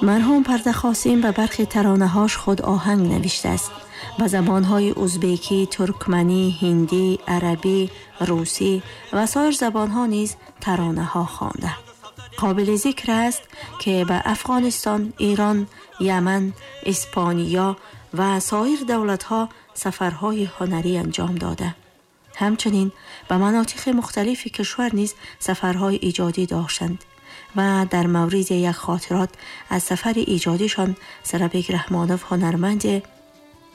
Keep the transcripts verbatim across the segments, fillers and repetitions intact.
Марҳум Парда Қосим ба бархи таронаҳош худ оҳанг навиштааст. Ба забонҳои узбекӣ, туркманӣ, ҳиндӣ, арабӣ, русӣ ва соир забонҳо низ таронаҳо хонда. Қобили зикр аст, ки ба Афғонистон, Эрон, Яман, Испания ва соир давлатҳо сафарҳои ҳунарӣ анҷом дода. Ҳамчунин ба манотиқи мухталифи кишвар низ сафарҳои иҷодӣ доштанд ва дар мавриди як хотирот аз сафари иҷодишон Сарабек Раҳмонов, ҳунарманди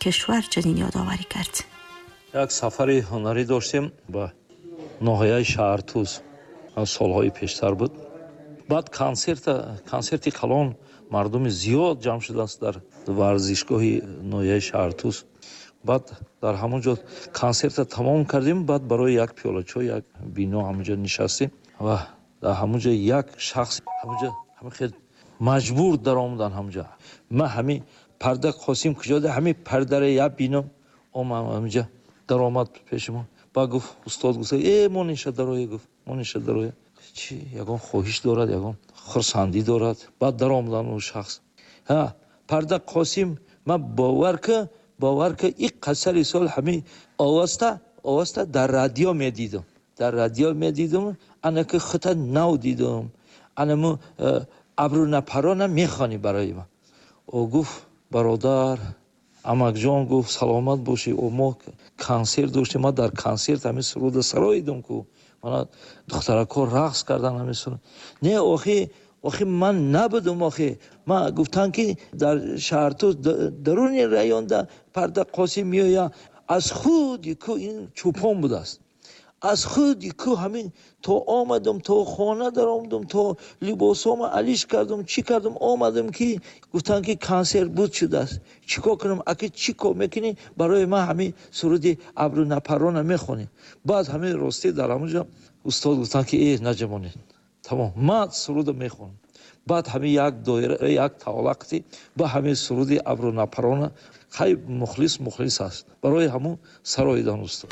кишвар, чунин ёдоварӣ кард. Як сафари ҳунарӣ доштем ба ноҳияи Шаҳртуз, солҳои пештар буд. Баъд консерт, консерти калон, мардуми зиёд ҷамъ шудааст дар варзишгоҳи ноҳияи Шаҳртуз. Баъд дар ҳамон ҷо консертро тамом кардем, баъд барои як пиёла чой як бино ҳамон ҷо нишастем ва дар ҳамон ҷо як шахс ҳамон ҷо ҳамин хел маҷбур даромадан ҳамон ҷо. Ман ҳамин Парда Қосим куҷода, ҳамин пардара як бино омад, ҳамин ҷо даромад пеши мо. Баъд гуфт, устод гуфт: э, монеша дароя, гуфт, монеша дароя. Чи ягон хоҳиш дорад, ягон хурсандӣ дорад. Баъд даромадан он шахс. Ҳа, Парда Қосим, ман бовар ки, бовар ки, ин қасари сол ҳамин овозта, овозта дар радио медидам. Дар радио медидам, ана ки хута нав дидам. Ана му абру напарона мехонӣ барои ман. О гуфт: бародар, амакҷон, гуфт, саломат бошӣ. О, мо консерт доштем, ман дар консерт ҳамин суруда сароидам ку. Мана духтаракҳо рақс кардан ҳамин суруд. Не, охи, охи ман набудам, охи. Ман гуфтам, ки дар Шаҳртуз даруни районда Парда Қосим меояд. Аз худи ку ин чӯпон будааст. Аз худи ку ҳамин то омадам, то хона даромадам, то либосома алиш кардам, чӣ кардам, омадам, ки гуфтанд, ки консерт буд шудааст. Чӣ кор кунам? Аки чӣ кор мекунӣ? Барои ман ҳамин суруди абру напарона мехонӣ. Баъд ҳамин ростӣ дар ҳамон ҷо устод гуфтанд, ки э, наҷамонед, тамом, ман суруда мехонам. Баъд ҳамин як доира, як тавлақти ба ҳамин суруди абру напарона. Хай, мухлис мухлис аст, барои ҳамун сароидан устод.